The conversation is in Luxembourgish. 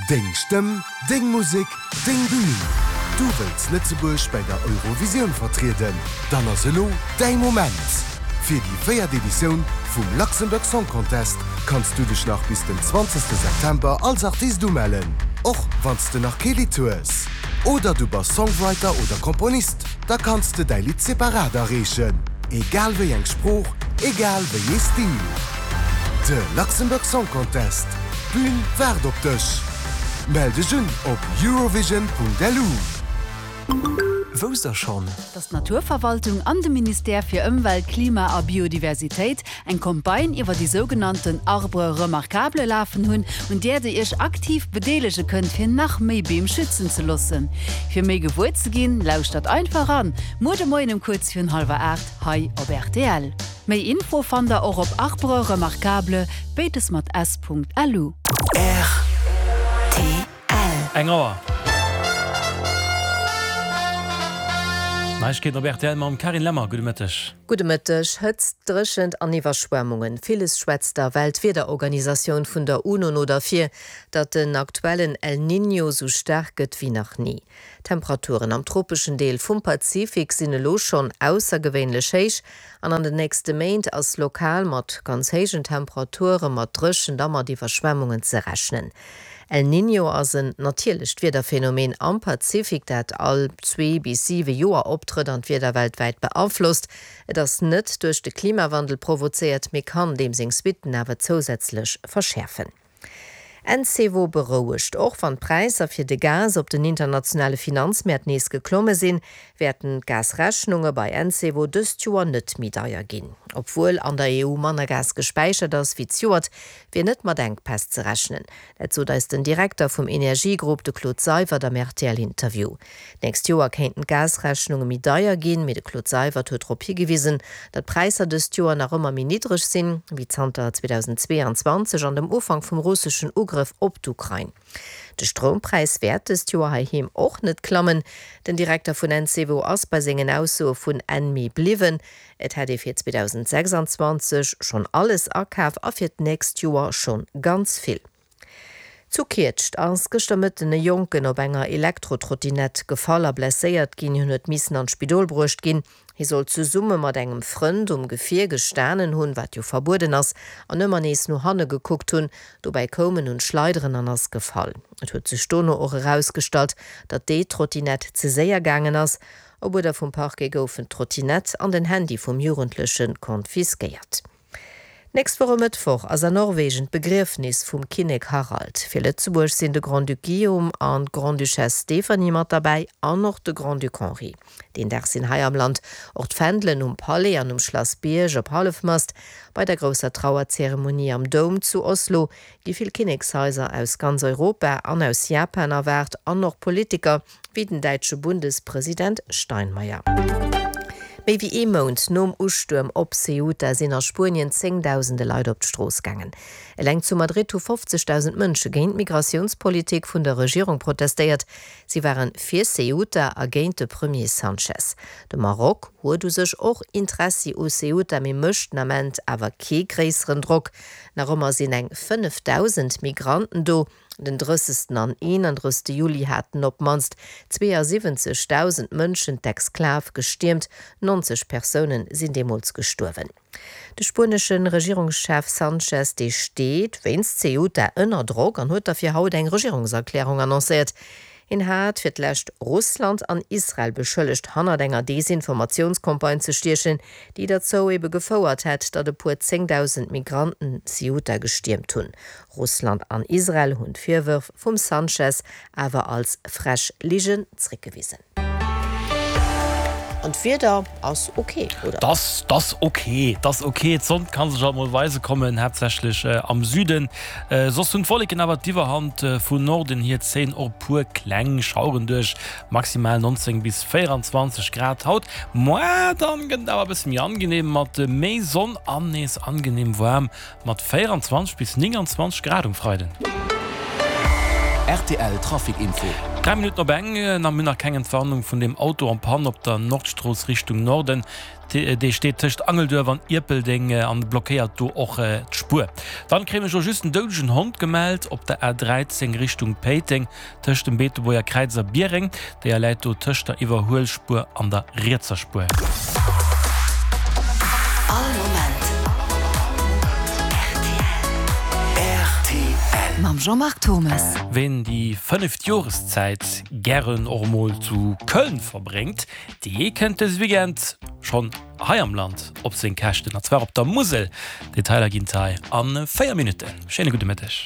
Deng Stëmm, deng Musek, deng Bühn! Du wëlls Lëtzebuerg bäi der Eurovisioun vertrieden? Dann ass elo däi Moment! Fir déi véiert Editioun vum Luxembourg Song Contest kanns du dech nach bis den 20 September als Artist umellen, och wann s de nach kee Lidd hues. Oder du bass Songwriter oder Komponist, da kanns de däi Lidd separat areechen, egal wéi eng Sprooch, egal wéi ee Stil. De Luxembourg Song Contest, d'Bün waart op dech! Mell dech un op eurovision.lu. Wousst der schonn? Dass d'Naturverwaltung an de Ministère fir Ëmwelt, Klima a Biodiversitéit eng Campagne iwwer déi sougenannten Arbres remarquables lafen hunn, un där dir iech aktiv bedeelege kënnt fir nach méi Beem schützen ze loossen. Fir méi gewuer ze ginn, lauschtert einfach eran, muer de Moien um kuerz virun hallwer 8 hei op rtl. Méi Info fannt der och op arbresremarquables, béides mat s.lu. Rtl. Eng Auer. Neiegkeeten op rtl mam Carine Lemmer. Gudde Mëtteg. Gudde Mëtteg. Hëtzt, Dréchent an Iwwerschwemmungen, villes schwätzt der Weltwiederorganisatioun vun der UNO no derfir, datt den aktuellen El Niño sou staark gëtt wéi nach ni. D'Temperaturen am tropeschen Deel vum Pazifik sinn elo schonn aussergewéinlech héich an an den nächste Méint ass lokal mat ganz héijen Temperature, mat Dréchent a mat Iwwerschwemmungen ze rechnen. El Niño ass en natierlecht Wiederphenomen am Pazifik, dat all zwee bis siwe Joer optrëtt an d'Wieder weltwäit beaflosst. Et ass net duerch de Klimawandel provozéiert, mee kann deem seng Suitten awer zousätzlech verschäerfen. Encevo berouegt, Och wann d'Präisser fir de Gas op den internationale Finanzmäert nees geklomme sinn, wäerten d'Gasrechnunge bei Encevo dëst Joer net méi deier ginn. Obwuel an der EU manner Gas gespäichert ass wéi zejoert, wier net mat Enkpäss ze rechnen. Dat sot eis den Direkter vum Energiegrupp, de Claude Seywert am RTL-Interview. D'nächst Joer kéinten d'Gasrechnunge méi deier ginn, mee de Claude Seywert huet drop higewisen, datt d'Präisser dëst Joer nach ëmmer méi niddreg sinn, wéi zanter 2022 an dem Ufank vum russeschen Ugrëff op d'Ukrain. De Stroumpräis wäert dëst Joer heiheem och net klammen. Den Direkter vun Encevo ass bei sengen Aussoe vun Enn Mee bliwwen. Et hätt ee fir 2026 schonn alles akaf a fir d'nächst Joer schonn ganz vill. Zu Kietscht ass gëschter Mëtten e Jonken op enger Elektrotrottinett gefall a blesséiert ginn. Hien huet missen an d'Spidol bruecht ginn. Hie soll zesumme mat engem Frënd um Gefier gestanen hunn, wat jo verbueden ass, an ëmmer nees no hanne gekuckt hunn. Dobäi koum en un d'Schleideren an ass gefall. Et huet sech dono och erausgestallt, datt déi Trottinett ze séier gaangen ass. Op Uerder vum Parquet goufen d'Trottinett an den Handy vum Jugendleche konfiskéiert. D'nächst Woch e Mëttwoch ass a Norwegen d'Begriefnis vum Kinnek Harald. Fir Lëtzebuerg sinn de Grand-Duc Guillaume an d'Grande-Duchesse Stéphanie mat derbäi an och de Grand-Duc Henri. Deen Dag sinn hei am Land och d'Fändelen um Palais an um Schlass Bierg op Hallefmast. Bei der grousser Trauerzeremonie am Doum zu Oslo gi vill Kinnekshaiser aus ganz Europa an aus Japan erwaart an och Politiker wéi den däitsche Bundespresident Steinmeier. Méi wéi ee Mount nom Ustuerm op Ceuta sinn a Spuenien zéngdausende Leit op d'Strooss gaangen. Eleng zu Madrid hu 50.000 Mënsche géint d'Migratiounspolitik vun der Regierung protestéiert. Si ware fir Ceuta a géint de Premier Sanchez. De Maroc huet u sech och Interessi u Ceuta, mee mécht den Ament awer kee gréisseren Drock. Nach ëmmer sinn eng 5.000 Migranten do. Den 30. an 31. Juli haten op d'mannst 72.000 Mënschen d'Exklav gestiermt, 90 Persoune sinn deemools gestuerwen. De spuenesche Regierungschef Sanchez, dee steet wéinst Ceuta ënner Drock an huet derfir haut eng Regierungserklärung annoncéiert. Hien hat fir d'lescht Russland an Israel beschëllegt, hannert enger Desinformatiounscampagne ze stiechen, déi derzou ebe gefouert hätt, datt e puer 10.000 Migranten Ceuta gestiermt hunn. Russland an Israel hunn d'Virwërf vum Sanchez awer als frech Ligen zréckgewisen. An d'Wieder ass ok, oder? T'ass, t'ass ok, t'ass ok. D'Sonn ka sech alt mol weise kommen, haaptsächlech am Süden. Soss hunn d'Wolleken awer d'Iwwerhand. Vun Norden hier zéien och e puer kleng Schaueren duerch, maximal 19 bis 24 Grad haut. Moar dann gëtt et awer e bësse méi angenehm mat méi Sonn an nees angenehm waarm Mat 24 bis 29 Grad um Freiden. Rtl Trafic Info. 3 Minutten op eng, a mir hunn nach keng Entwarnung vun deem Auto en panne op der Nordstrooss Richtung Norden. Dee steet tëscht Angelduerf an Ierpeldeng an blockéiert do och d'Spuer. Dann kréie mech och just en doudegen Hond gemellt op der A13 Richtung Péiteng tëscht dem Beetebuerger Kräiz a Biereng. Déier läit do tëscht der Iwwerhuelspuer an der rietser Spuer. All Moment rtl. Mam Jean-Marc Thommes. Ween déi fënneft Joreszäit gären och emol zu Köln verbréngt, Dee kënnt dëse Weekend schonn hei am Land op seng Käschten, an zwar op der Musel. Detailer ginn et hei a 4 Minutten. Schéine gudde Mëtteg.